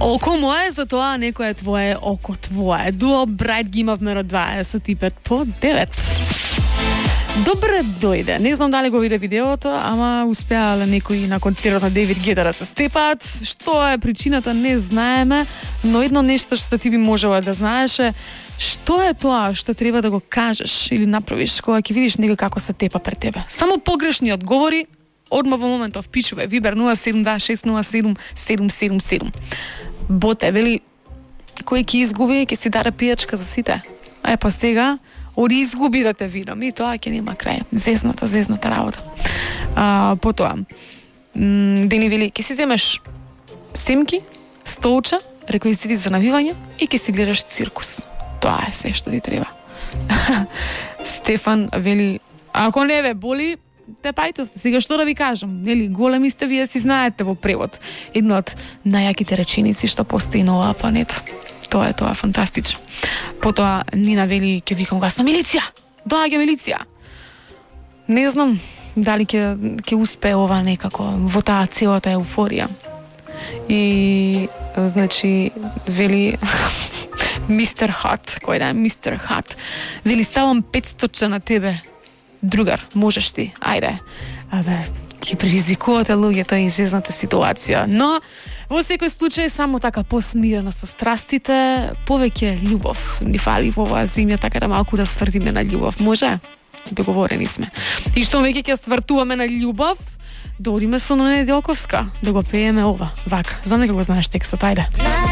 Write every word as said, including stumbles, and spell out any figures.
Око мое, затоа некој е твое, око твое. Дуо Брайт ги имавме од дваесет и пет по девет. Добре дојде. Не знам дали го виде видеото, ама успеале некои на концертот на Дейвид Гета да се степаат. Што е причината, не знаеме, но едно нешто што ти би можела да знаеш е што е тоа што треба да го кажеш или направиш кога ќе видиш некој како се тепа пред тебе. Само погрешни одговори, одма во моментов пичуве, Вибер нула седум два шест нула седум седум седум седум. Боте, вели, кој ќе изгуби, ќе си даде пијачка за сите. Е, па сега, оди изгуби да те видам. И тоа ќе нема крај. Зезната, зезната работа. А, потоа, м, Дени вели, ќе си земеш семки, столча, реквизити за навивање и ќе си гледаш циркус. Тоа е се што ти треба. Стефан вели, ако не ве боли, те пајте се. Сега што да ви кажам? Нели, големи сте, вие си знаете во превод. Една од најаките реченици што постои на оваа планета. Тоа е тоа, фантастично. Потоа Нина вели, ќе викам гасно, милиција! Доаѓа милиција! Не знам дали ќе ќе успее ова некако во таа целата еуфорија. И, значи, вели мистер Хат, кој да е мистер Хат, вели, ставам петстотче на тебе, другар, можеш ти, ајде. Абе, ќе предизвикувате луѓето и изезната ситуација, но во секој случај само така посмирено со страстите, повеќе љубов ни фали во оваа земја, така да малку да свртиме на љубов. Може? Договорени сме. И што веќе ќе свртуваме на љубов, доодиме со Неделковска да го пееме ова. Вака, знам дека го знаеш текстот, ајде.